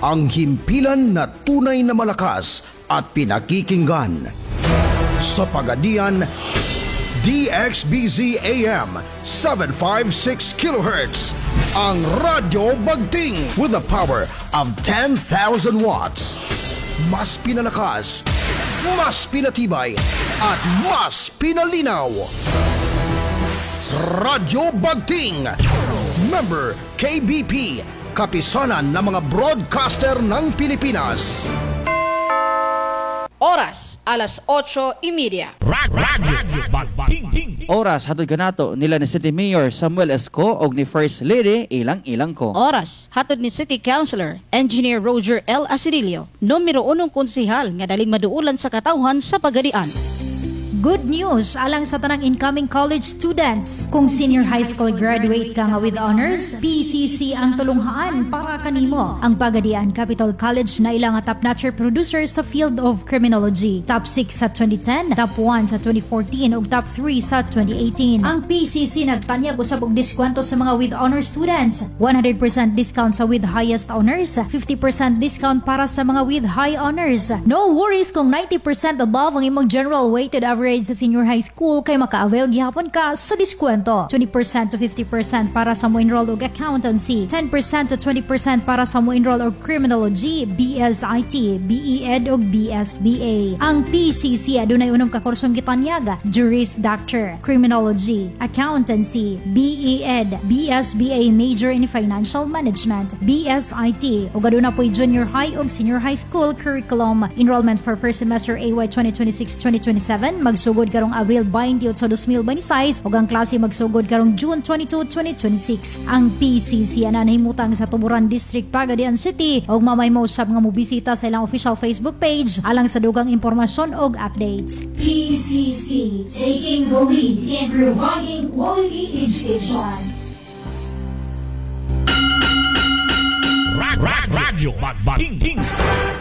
Ang himpilan na tunay na malakas at pinakikinggan. Sa Pagadian, DXBZ AM 756 kHz. Ang Radyo Bagting with the power of 10,000 watts. Mas pinalakas, mas pinatibay, at mas pinalinaw. Radyo Bagting. Member KBP, kapisanan ng mga broadcaster ng Pilipinas. Oras, 8:30. Radyo Bagting. Oras, hatod kanato nila ni City Mayor Samuel Esco og ni First Lady Ilang Ilang ko. Oras, hatod ni City Councilor, Engineer Roger L. Asirillo, numero unong konsihal nga daling maduulan sa katawhan sa Pagadian. Good news alang sa tanang incoming college students. Kung senior high school graduate ka nga with honors, PCC ang tulunghaan para kanimo. Ang Pagadian Capital College na ilang nga top-notcher producer sa field of criminology. Top 6 sa 2010, top 1 sa 2014 ug top 3 sa 2018. Ang PCC nagtanyag usab og diskwento sa mga with honors students. 100% discount sa with highest honors, 50% discount para sa mga with high honors. No worries kung 90% above ang imong general weighted average sa senior high school kay maka-avail gihapon ka sa diskwento. 20% to 50% para sa mo enroll og accountancy, 10% to 20% para sa mo enroll og criminology, BSIT, BEEd ug BSBA. Ang PCC adunay unom ka kursong gitanyag: Juris Doctor, Criminology, Accountancy, BEEd, BSBA Major in Financial Management, BSIT, ug aduna po'y junior high ug senior high school curriculum. Enrollment for first semester AY 2026-2027 magsugod karong Abril 28, 2026 ug ang klase magsugod karong June 22, 2026. Ang PCC ana nahimutang sa Tuburan District, Pagadian City ug mamay mo usab nga mobisita sa ilang official Facebook page alang sa dugang impormasyon ug updates. PCC, taking the lead in providing quality education. Radyo Bagting.